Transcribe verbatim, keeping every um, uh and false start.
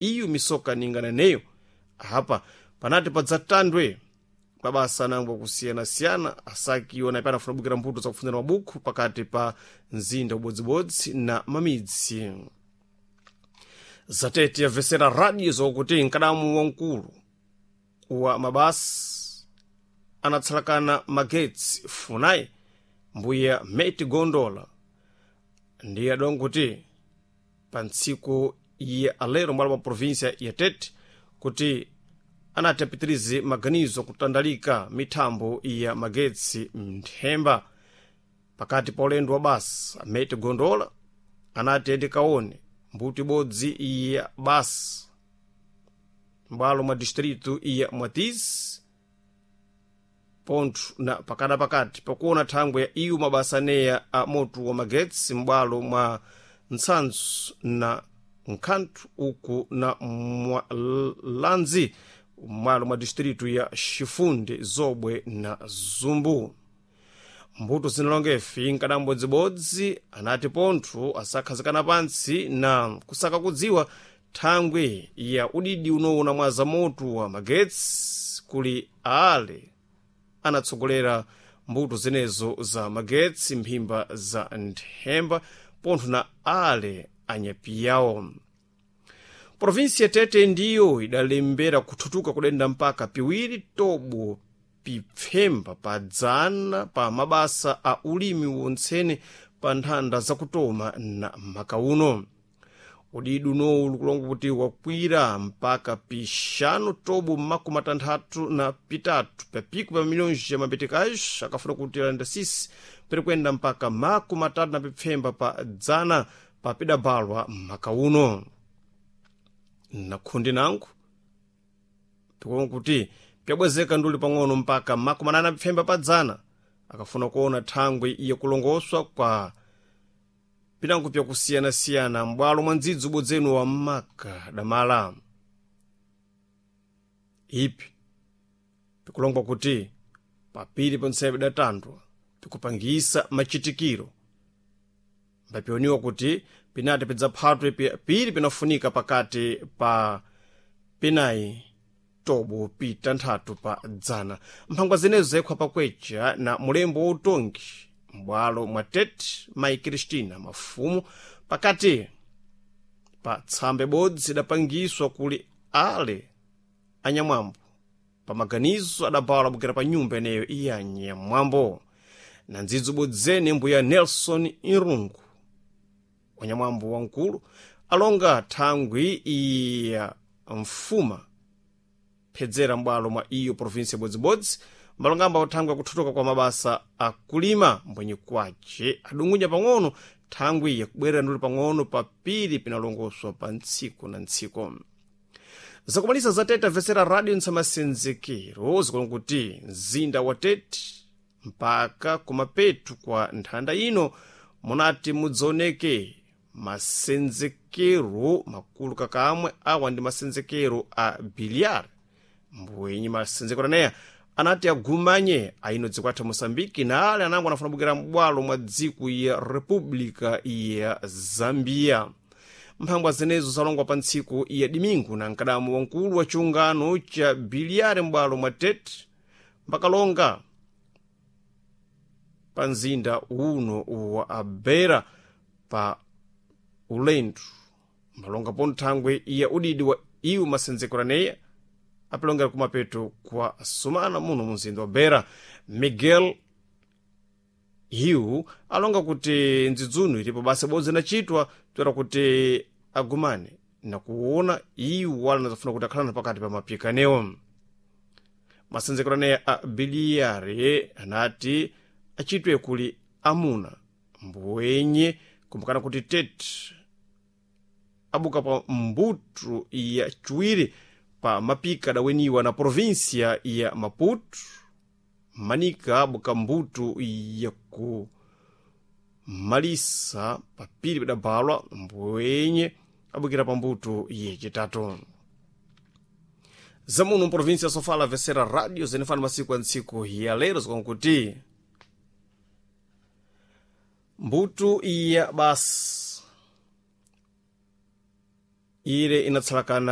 Iyo misoka ningana neyo apa panati padzatandwe mabasa anango akusiyana-siyana asakiwa na panafuna kubukira mbuto zakufunzana mabukhu pakati pa mzinda ubodzibodzi na mamidzi. Zatete yabvesera radio zokuti mkadamu wamkulu wa mabasa anatsalakana magetsi Funai, mbuya Meti Gondola, ndiye adonga kuti pa ntsiku ya alero mwalo mwa província ya Tete kuti anati apitirize maganizo kutandalika mithambo ya magetsi mnthemba. Pakati pa ulendo wa basa, Meti Gondola anati endikaone mbuto ibodzi ya basa m'bwalo mwa distrito ya Mwatizi pontho na pakadapakati pakuona thangwe ya iwo mabasa aneya a moto wa magetsi m'bwalo mwa Ntsanzu na Nkhanthu uku na Mwalanzi m'mwalo mwa distrito ya Chifunde, Zobwe na Zumbu. Mbuto zinalongefi nkadambodzibodzi anati pontho asakhazikana pantsi na kusaka kudziwa thangwe ya udidi unowona mwa zamoto wa magetsi kuli ale anatsogolera mbuto zenezo za magetsi mphimba za nthemba pontho na ale anyapiyawo. Provinsi ya Tete ndiyo idalembera kuthutuka kudenda mpaka piwiri tobo pipfemba pa dzana pa mabasa a ulimi wontsene pa nthanda zakutoma na makauno. Udidi unowu likulonga kuti wakwira mpaka pixanu tobo makumi atanthatu na pitatu papiko pa milhões ya mapeticais, akafuna kuti alanda sisi pirikwenda mpaka makumi atatu na pipfemba pa dzana papidabalwa makauno. Na khundi nangu pikulonga kuti pyabwezeka nduli pang'ono mpaka makumi anana pipfemba pa dzana, akafuna kuona thangwe yakulongoswa kwa pinango pyakusiyana-siyana m'bwalo mwa ndzidzi ubodzenu wa maka damala. Ipi pikulongwa kuti papiri ponsepo pidatandwa pikupangisa machitikiro mbapioniwa kuti pinati pidzaphatwe piri pinafunika pakati pa pinayi tobo pitanthatu pa dzana. Mphangwa zenezo zayikhwa pakwecha na mulembo wautongi m'bwalo mwa Tete, mayi Kristina Mafumu, pakati pa tsamba ibodzi idapangiswa kuli ale anyamwambo pa maganizo adabawala bukira pa nyumba ineyo iya anyamwambo na ndzidzi ubodzene. Mbuya Nelson Irungu wanyamwambo wamkulu alonga thangwi iya mfuma phedzera m'bwalo mwa iyo provinsi yabodzibodzi mbalongamba uthangwi akuthutuka kwa mabasa akulima mbwenye kwace adungunya pang'ono thangwi yakubwerera nduli pang'ono papiri pinalongoswa pa ntsiku na ntsiku. Zakumalisa za Tete amvetsera radio ntsamasenzekero zikulonga kuti mzinda wa Tete mpaka kumapetu kwa nthanda ino munati mudzaoneke masenzekero makulu kakamwe. Awa ndi masenzekero a biliar mbwenye masenzekero aneya anati agumanye aino dziko athu Moçambique na ale anango anafuna bukira m'bwalo mwa dziko ya República ya Zambia. Mphangwa zenezo zalongwa pa ntsiku ya Dimingu na mkadamu wamkulu wa chiungano cha biliare m'bwalo mwa Tete mbakalonga pa mzinda uno wa Abera pa ulendo mbalonga pono thangwe ya udidi wa iwo masenzekero aneya apilongera kumapeto kwa sumana muno mumzinda wa Beira. Miguel Hiu alonga kuti ndzidzuno ilipo basa bodzi inachitwa toera kuti agumane na kuona iwo wala anazafuna kuti akhalana pakati pa mapikanewo. Masenzekero aneya a biliyare anati achitwe kuli amuna mbwenye kumbukana kuti Tete abuka pa mbuto ya chiwiri pa mapika adaweniwa na província ya Maputo, manika abuka mbuto ya kumalisa papiri pidabalwa mbwenye abukira pa mbuto yacitatu. Zamuno mprovíncia ya Sofala vesera radio zenefana masiku a ntsiku ya lero zikonkuti mbuto ya basi Ile inatsalakana.